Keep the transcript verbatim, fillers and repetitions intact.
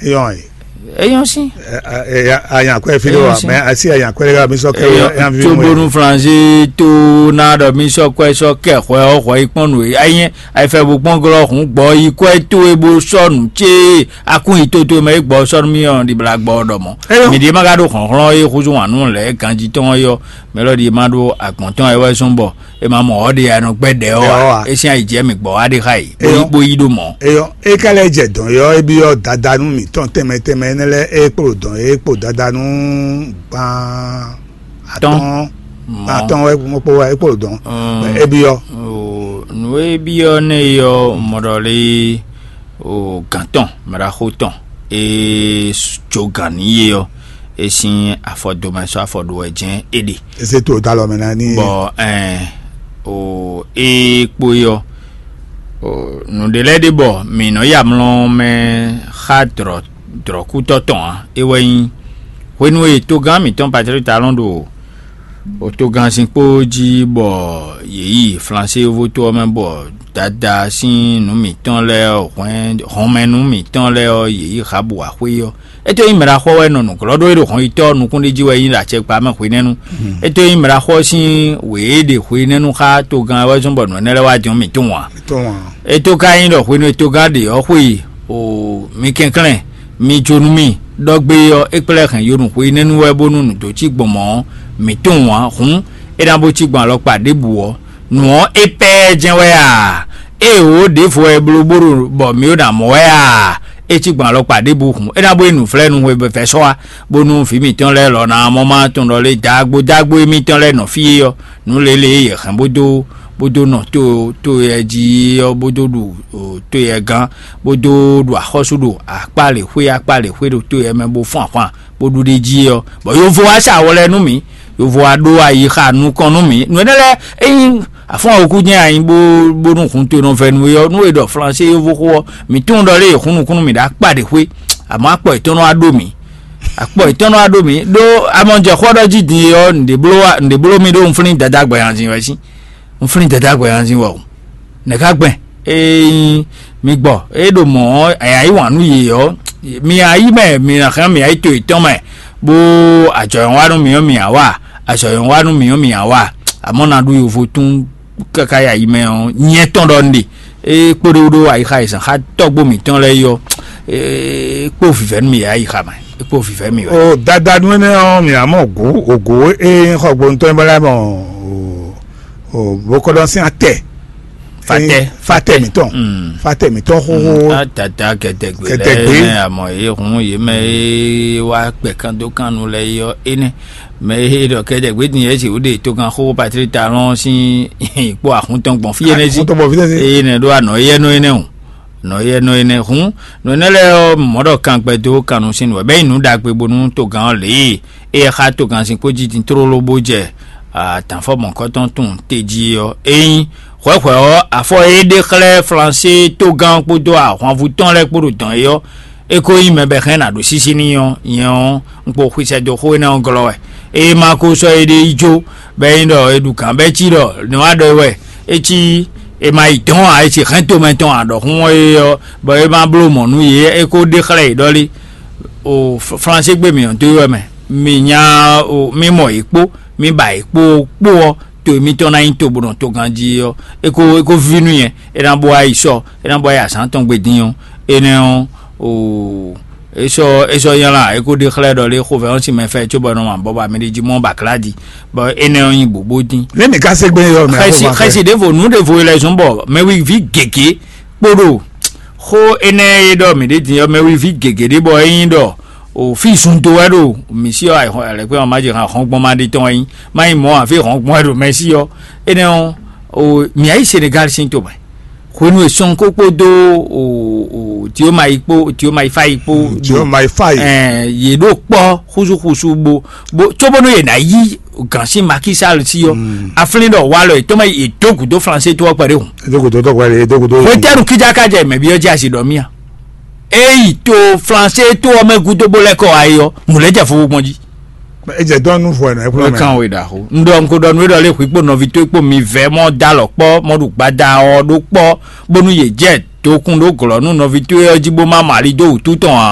Eyɔn e. Eyɔn sin. Anya kwɛ fi ɖo wa, mɛ asi anya kwɛ ɖe mi sɔ kɛ. Eyɔn fi tobonu français to na ɖɔ mi sɔ kwɛ sɔ kɛ xwɛ ɔ xwɛ yi kpɔn nu e ayi ayi fɛ bo kpɔn glɔ hun gbɔ yi kwɛ to e bo sɔ nu tse akun yi toto mɛ e gbɔ sɔ nu mi ɔ ɖibla gbɔ ɖɔ mɔ. Eyɔn. Mi ɖi ma ka ɖo xlɔnxlɔn e xuzu wan nu lɛ ganji tɔn yɔ mɛ lɔ ɖi ma ɖo agbɔn tɔn e wɛ zɔn bɔ e ma mɔ ɔ ɖe ya nɔ gbɛ ɖɛ ɔ wa e sin ayi jɛ mi gbɔ wa ɖe xa yi bo yi bo yi ɖo mɔ. Eyɔn e ka lɛ jɛ dɔn yɔ e bi yɔ dada nu mi tɔn tɛmɛ tɛmɛ ne lɛ e kpo dɔn e kpo dada nu gban atɔn atɔn wɛ mo kpo wɛ e kpo dɔn e bi yɔ. Nu e bi yɔ ne yɔ mɔɖɔ le o gantɔn mɛɖaxo tɔn e jo gan ni ye yɔ e sin afɔ domɛ sɔ afɔ ɖo wɛ jɛn e ɖe. Ese to da lɔ mɛ na ni. Bɔ ɛn o e kpo yɔ o nu ɖe lɛ ɖe bɔ mi nɔ ya mlɔ mɛ xa drɔ drɔkútɔ tɔn a e wɛ nyi hwenu e togán mǐtɔn Patrick Talon ɖo o togán sin kpó jí bɔ yě yi Flansé yovo to ɔ́ mɛ bɔ dada sín nǔ mǐtɔn lɛ́ɛ ɔ́ hwɛn hɔnmɛnú mǐtɔn lɛ́ɛ ɔ́ yě yi Habu axwé ɔ́. É tó nyí mɛɖaxɔ wɛ nɔ nǔglɔ́ ɖó é ɖo hɔn yitɔ́ nukún ɖé jí wɛ nyí ɖo acɛkpa mɛ hwenɛ́nu. É tó nyí mɛɖaxɔ sín wě e ɖe hwenɛ́nu xá togán wɛ zɔ́n bɔ nǔ énɛ́ lɛ́ɛ wá jɔ́n mǐtɔn ǎ. É tó ka nyí ɖɔ hwenu e togán ɖe ɔ́ xwe o mi kɛnklɛ́n mi jó nú mì ɖɔ gbé ɔ́ é kplɛ́ hɛn yonu hwenɛ́nu wɛ bónú nǔ dó cí gbɔn mɔ̌ ɔ́, mǐ tunwun ǎ. Hǔn é ná bó cí gbɔn alɔkpa ɖěbǔ ɔ́, nǔ ɔ́ é pɛ́ jɛ́n wɛ a? Ée wǒ ɖěvo wɛ bló bó ɖo bɔ mǐ ɖo ná mɔ wɛ a? É cí gbɔn alɔkpa ɖěbǔ hǔn é ná bó yi nǔflɛ́nu hwebɛ́fɛ́sɔ́ wá, bónú vǐ mǐtɔn lɛ́ɛ lɔ̌ ná mɔ má tunwun ɖɔ lé dǎgbó dǎgbó émítɔn lɛ́ɛ nɔ fí é ɔ́, nǔ lě lě e yě hɛn bó dó bó dó nɔ to to yɛ jí ɔ́ bó dó ɖu to yɛ gán bó dó ɖu axɔ́sú ɖo akpá lě xwé akpá lě xwé ɖo to yɛ mɛ bó fɔ́n ahwan bó ɖu ɖ'é jí ɔ́, bɔ yovo wá sa wɔ lɛ́ɛ nú mì, yovo wá ɖó ayixa nukɔn nú mì. Nǔ énɛ́ lɛ́ɛ é nyí afɔ́n awokú jɛ́n anyi bó bónú hun to nɔ vɛ nú é ɔ́, nú è ɖɔ flansé yovo xó ɔ́, mǐ tunwun ɖɔ lé è hun nukún nú mì ɖo akpá ɖě xwé, àmọ́ akpɔ yětɔn nɔ wá ɖó mì. Akpɔ yětɔn nɔ wá ɖó mì ɖó amɔjɛxɔ ɖɔ jí din é ɔ́, nǔɖé bló wá nǔɖé bló mì ɖó un flín dadá gbɛhanzin wɛ sín. Un flín dadá gbɛhanzin wɛ o. Nɛ̌ ká gbɛn? Ényí mi gbɔ é ɖo mɔ̌ ɔ́, aya yí wǎn nú yě ɔ́, mi ná yi mɛ, mi ná xlɛ́ mi ná yi to yětɔn mɛ, bó ajɔ̌yɔ́nwá nú mì ɔ́ mi ná wa, ajɔ̌yɔ́nwá nú mì ɔ́ mi ná wa. Amɔ̌ ná ɖu yovo tún káká ya yi mɛ ɔ́, nyɛ tɔn ɖɔ un ɖe. É kpóɖó ɖó ayixa yi zǎn xá tɔ́gbó mǐtɔn lɛ́ɛ yi ɔ́, é kpó vǐvɛ́ nú mì yě ayixa mɛ, é kpó vǐvɛ́ mì wɛ. O dadanu énɛ́ ɔ́, mǐ ná mɔ gǔ ògǒ e nyí xɔgbónútɔn é bɔ lɛ́ mɔ o bó kɔ́ ɖɔ sín atɛ. Fatɛ. Fatɛ mǐtɔn. Fatɛ mǐtɔn xóxó. Atata kɛtɛgbe Kɛtɛgbe. Lɛ amɔ yě hun yě mɛ e wá kpɛ kan dó kan nu lɛ yi ɔ́ énɛ́. Mɛ e ɖɔ kɛtɛgbe din yɛ si wúɖe togan xóxó Patrik Talɔn sín kpó ahun tɔn gbɔn fí énɛ́ sí. Ahun tɔn gbɔn fí énɛ́ sí. Eye nɛ ɖó anɔ yɛ nɔ énɛ́ o. Nɔ yɛ nɔ énɛ́ hun nɔ énɛ́ lɛ́ɛ ɔ́ mɔ̌ ɖɔ kan gbɛ dó kan nu sín nu wɛ bɛ́ yi nǔ ɖagbe bónú togan ɔ́ lě e é xá togan sin kpó jí din tlóló bó jɛ atǎnfɔ mɔ̌kɔtɔn tun tejí ɔ́. Ényí hwɛ̌hwɛ̌ ɔ́, afɔ e é ɖe xlɛ́ Flansé togán kpódó ahwanvú tɔn lɛ́ɛ kpó ɖo dɔn é ɔ́, é ko nyí mɛ bɔ è hɛn ná ɖo sísí n'i ɔ́, nyɛ ɔ́, un kpo xwixwɛ dó xó énɛ́ ɔ́ glɔ́ wɛ. Ée ma ko sɔ́ éɖée yi jó, bɔ é nyí ɖɔ è ɖu gǎn bɔ é cí ɖɔ nɛ̌ wá ɖɔ é wɛ, é cí è ma yi dɔ̌n ǎ, è ci hɛn tomɛ tɔn ǎ ɖɔhun ɔ́ é ɔ́, bɔ é ma bló mɔ̌ nú yě, é ko ɖe xlɛ́ yě ɖɔ lé. O Flansé gbe mǐ ɔ́ dó é wɛ mɛ, mi nya o mi mɔ yě kpó, mi ba yě kpó kpó ɔ́, to mitɔn ná nyí to bó nɔ togán jí ɔ́, é ko é ko víví nú nyɛ, é ná bó wá yi sɔ, é ná bó wá yi azǎn tɔn gbe dín ɔ́, énɛ́ ɔ́, o é sɔ́ é sɔ́ nylá, é ko ɖe xlɛ́ ɖɔ lé xovɛ́ ɔ́ sín mɛ fɛ cóbɔ nɔ ma bɔ ba mi ɖi jí mɔ ba klá di, bɔ énɛ́ ɔ́ nyí bǔbú dín. Ní mi ka se gbé yɔ mɛ xɛsi xɛsi ɖěvo nǔ ɖěvo yi lɛ zɔn bɔ mɛwiví gěgé kpóɖo xó énɛ́ e ɖɔ mǐ ɖe din ɔ́, mɛwiví gěgé ɖé bɔ é nyí ɖɔ o fí zun dó wɛ ɖo mǐ sí ɔ́, alɛkpé ɔ́ má jɛ hɔn gbɔn má ɖi tɔn wɛ nyí má nyí mɔ̌ ǎ, fí hɔn gbɔn wɛ ɖo mɛ sí ɔ́. Énɛ́ ɔ́, o mǐ yá yi Senegal sín tomɛ hwenu e sɔn kó kpódó o o Diomayi kpó Diomayi Fayi kpó Diomayi Fayi. Ɛɛ yě ɖo kpɔ́ xúsúxúsú bó bó cóbónú yě ná yí gǎn sín Macky Sall sí ɔ́, aflín ɖɔ walɔ yětɔn mɛ yě dó gǔdo Flansé tó ɔ́ kpɛɖé hùn. Edogodo tɔgba le edogodo. Hwetɛnu kíjáká jɛ mɛ byɔ́ jɛ asi ɖɔ mía. Eyi to Flansé tó ɔ́ mɛ gúdo bó lɛ́ kɔ wá yi ɔ́, nǔ lɛ́ jɛ fofo gbɔn jí. Ejɛ dɔn nu fɔ ɛnɛ Ó kplɔn mɛ. Kàn wé ɖaxó. Un ɖɔ un ko ɖɔ nú é ɖɔ lé hwǐ kpó nɔví tó kpó mi vɛ́ mɔ dó alɔ kpɔ́ mɔ ɖu gbada ɔ́ ɖó kpɔ́ bónú yě jɛ dokun ɖó glɔ̌ nú nɔví tó ɔ́ jí bó má mɔ ali dó wǔtu tɔn ǎ.